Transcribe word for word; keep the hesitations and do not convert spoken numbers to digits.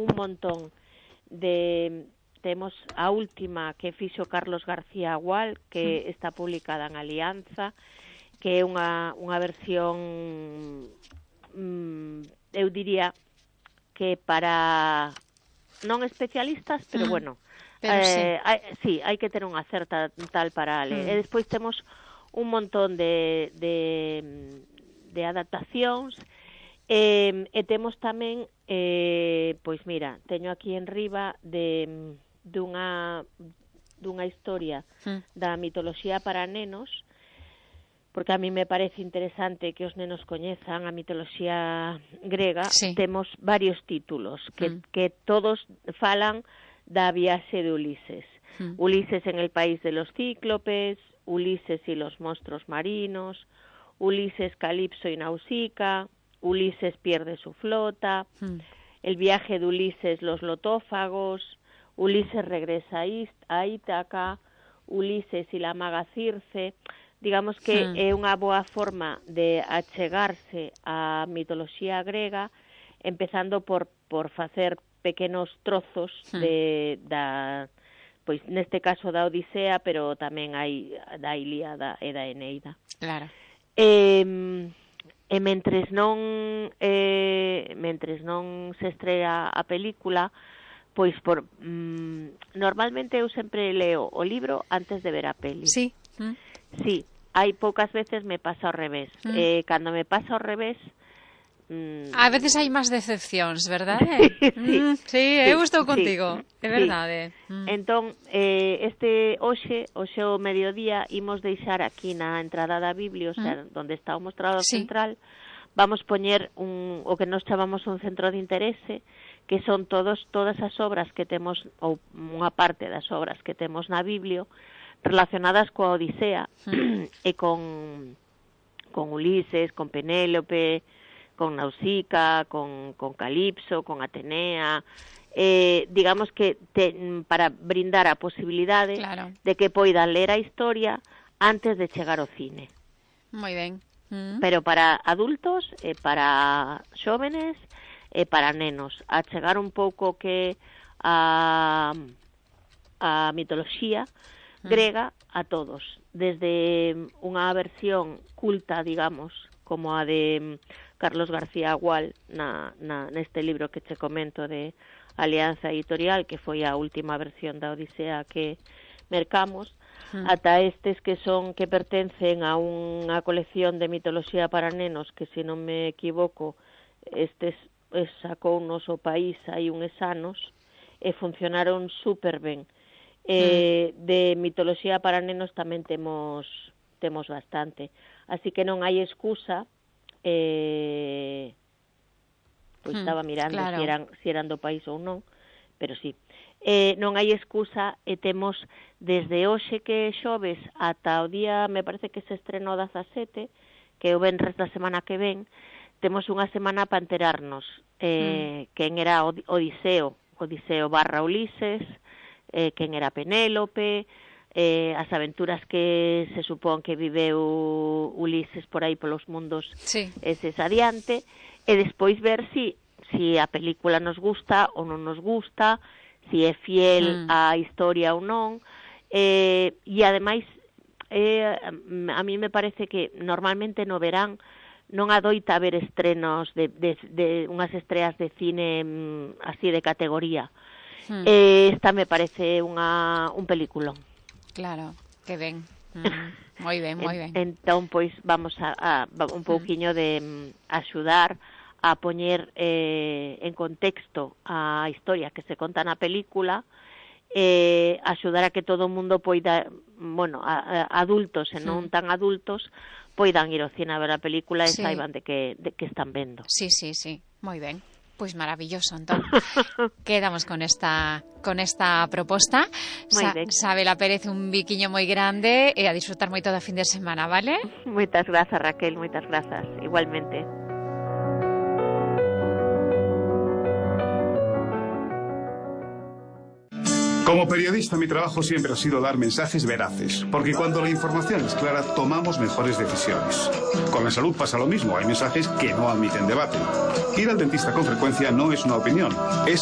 un montón de... Temos a última que fixo Carlos García Gual, que está publicada en Alianza, que é unha, unha versión, mm, eu diría que para non especialistas, pero mm. bueno, pero eh, sí. Hai, sí, hai que ter unha certa tal para ler. Mm. E despois temos un montón de, de, de adaptacións, e, e temos tamén, eh, pois mira, teño aquí en riba de dunha, dunha historia mm. da mitoloxía para nenos, porque a mí me parece interesante que os nenos coñezan a mitoloxía grega. Sí. Temos varios títulos que, mm. que todos falan da viaxe de Ulises. Mm. Ulises en el país de los cíclopes, Ulises y los monstruos marinos, Ulises, Calipso y Nausicaa, Ulises pierde su flota, mm. el viaje de Ulises, los lotófagos, Ulises regresa a Ítaca, Ulises y la maga Circe. Digamos que sí. é unha boa forma de achegarse á mitoloxía grega, empezando por, por facer pequenos trozos sí. de, da, pois neste caso da Odisea, pero tamén hai da Ilíada e da Eneida. Claro. E, e mentres non eh, mentres non se estrea a película, pois por mm, normalmente eu sempre leo o libro antes de ver a peli. Sí. Mm. Sí, hai poucas veces me pasa ao revés. Mm. Eh, cando me pasa ao revés... Mm... A veces hai máis decepcións, verdade? sí, mm, sí, sí, eu estou contigo, sí, é verdade. Sí. Mm. Entón, eh, este hoxe, hoxe o mediodía, imos deixar aquí na entrada da Biblia, o sea, mm. onde está o mostrador sí. central, vamos poñer un, o que nos chamamos un centro de interese, que son todos todas as obras que temos, ou unha parte das obras que temos na Biblia, relacionadas coa Odisea mm. e con, con Ulises, con Penélope, con Nausicaa, con, con Calipso, con Atenea, eh, digamos que te, para brindar a posibilidade claro. de que poidan ler a historia antes de chegar ao cine. Moi ben. Mm. Pero para adultos, e para xóvenes e para nenos, a chegar un pouco que a, a mitoloxía grega a todos, desde unha versión culta, digamos, como a de Carlos García Gual na, na, neste libro que che comento de Alianza Editorial, que foi a última versión da Odisea que mercamos, mm. ata estes que son que pertencen a unha colección de mitoloxía para nenos que, se non me equivoco, estes sacounos o país hai uns anos e funcionaron super ben. Eh, mm. de mitoloxía para nenos tamén temos temos bastante, así que non hai excusa. Eh, pois mm, estaba mirando claro. si, eran, si eran do país ou non, pero sí, eh, non hai excusa, e temos desde hoxe que é xoves ata o día, me parece que se estrenou dezasete, que é o venres da semana que ven, temos unha semana para enterarnos eh, mm. quen era Odiseo, Odiseo barra Ulises, eh, quen era Penélope, eh, as aventuras que se supón que viveu Ulises por aí polos mundos sí. eses adiante, e despois ver si, si a película nos gusta ou non nos gusta, si é fiel mm. á historia ou non, eh, e ademais eh, a mí me parece que normalmente no verán non adoita haber estrenos de, de, de unhas estreas de cine mm, así de categoría. Mm. Eh, esta me parece unha, un peliculón. Claro, que ben. Mm, moi ben, moi ben. Entón, pois, vamos a, a un pouquiño de um, axudar a poñer eh, en contexto a historia que se conta na película, eh, axudar a que todo o mundo poida, bueno, a, a adultos e non tan adultos, poidan ir ao cine a ver a película e sí. saiban de que, de que están vendo. Sí, sí, sí, moi ben. Pois maravilloso, entón. Quedamos con esta con esta proposta. Sa Sabela Pérez, un biquiño moi grande e a disfrutar moito da fin de semana, vale? Moitas grazas, Raquel, moitas grazas. Igualmente. Como periodista, mi trabajo siempre ha sido dar mensajes veraces, porque cuando la información es clara, tomamos mejores decisiones. Con la salud pasa lo mismo, hay mensajes que no admiten debate. Ir al dentista con frecuencia no es una opinión, es